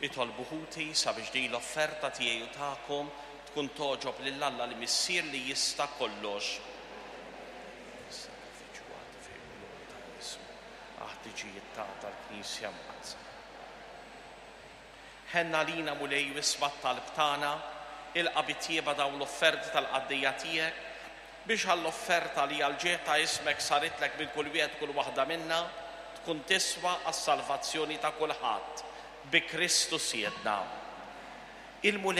Itolbu ħuti sabiex din l-offerta tiegħi u tagħkom tkun togħġob lil Alla l-Missier li jista' kollox. Is-sagrifiċċju għad fil-glorja ta' ismu, għall-ħtiġijiet tagħna tal-Knisja Mqaddsa. Ħenn għalina Mulej u isma' t-talb tagħna, ilqa' bi tjieba dawn l-offerti tal-qaddejja tiegħek, biex għall-offerta li għall-ġieħ ta' ismek saritlek minn kull wieħed u kull waħda minna, tkun tiswa għas-salvazzjoni ta' kulħadd. Bi Kristu Sidna. Il-Mulej.